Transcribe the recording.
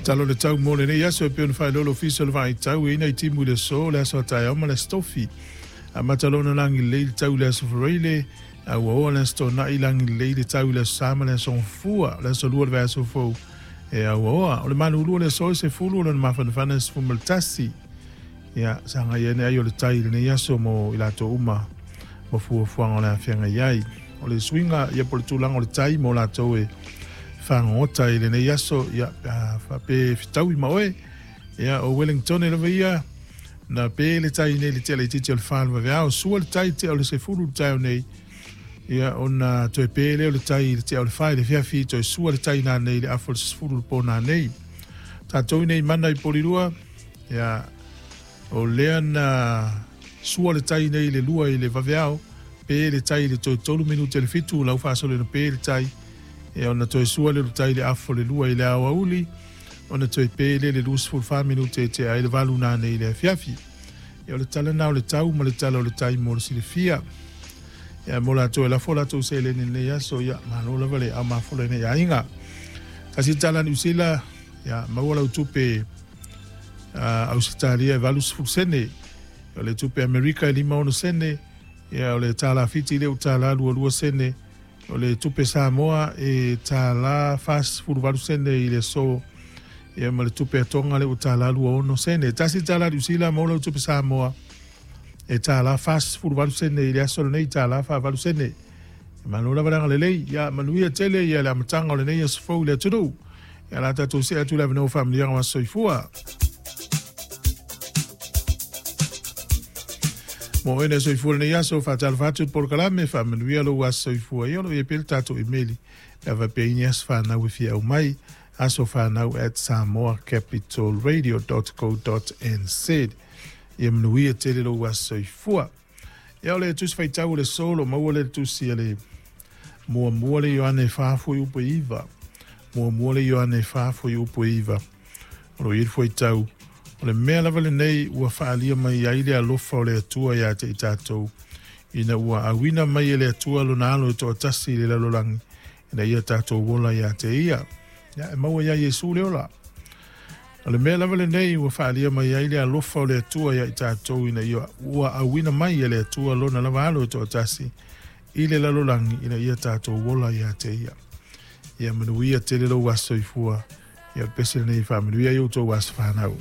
Tala o le tau mo lenei aso e pei ona faailoa le Ofisa o le Vaai Tau e i ai nai timu i le aso, le aso a taeao ma le aso Tofi. Amata loa ona lagi lelei le tau i le aso Faraile, a ua oo i le aso Toonai lagi lelei le tau i le aso Sa ma le aso Gafua, o le aso Lua o le vaiaso fou e auaoa. O le malulu o le aso e 10, o lona mafanafana e 11. Ia, sagai ane ai o le tai i lenei aso mo i latou uma ma fuafuaga o le a feagai ai. O le suiga ia po o le tulaga o le tai mo latou e fagogota i lenei aso, ia, pe a faapea e fetaui ma oe, ia, o Wellington lava ia, na pe le tai nei i le tea laitiiti o le 4 o le vaveao, sua le tai i le tea o le 10 i le taeao nei, ia, ona toe pe lea o le tai i le tea o le 4 i le afiafi, toe sua le tai nanei i le afa o le 10 i le po nanei. Tatou i nei mana i Polilua, ia, o lea na sua le tai nei i le 2 i le vaveao, pe le tai i le toe 3 minute i le 7, lau faasolo ina pe le tai, ia, ona toe sua lea o le tai i le afa o le 2 i le aoauli, ona toe pe lea i le 24 minute e tea ai le 8 nanei i le afiafi. Ia, o le tala na o le tau ma le tala o le tai mo le silafia. Ia, mo latou e lafo latou seleni i lenei aso, ia, malo lava le aomafola i lenei aiga. Tasi tala Niu Sila, ia, maua lau tupe Ausetalia e 80 sene, o le tupe Amerika e 56 sene, ia, o le tālā Fiti lea ua tālā 22 sene, o le tupe Samoa e tālā 48 sene i le aso, ia, ma le tupe Tonga lea ua tālā 26 sene. Tasi tālā Niu Sila, maua lau tupe Samoa e tālā 48 sene i le aso lenei, tālā 48 sene. E malo lava le agalelei, ia manuia tele ia le amataga o lenei aso fou i le atunuu. Ia la tatou see atu le avanoa faamanuiaga o aso soifua. Mo oe na soifua lenei aso, faatalofa atu i le polokalame, faamanuia lou aso soifua. Ia o lo o i ai pea le tatou imeli, pe a faapea i ni aso fanau e fia aumai, asofanau@samoacapitalradio.co.nz. Ia manuia tele lou aso soifua. Ia o le tusi faitau o le aso, o lo o maua lea i le tusi a le muamua le Ioane 4 fuaiupu e 9. Muamua le Ioane 4 fuaiupu e 9. O lo o i ai le fuaitau, o le mea lava lenei ua faaalia mai ai le alofa o le Atua ia te i tatou, ina ua auina mai e le Atua lona alo e toatasi i le lalolagi, ina ia tatou ola ia te ia. Ia, e maua ia Iesu le ola. O le mea lava lenei ua faaalia mai ai le alofa o le Atua ia i tatou, ina ia ua auina mai e le Atua lona lava alo e toatasi i le lalolagi, ina ia tatou ola ia te ia. Ia manuia tele lou aso soifua. Ia o le pese lenei faamanuia i outou aso fanau.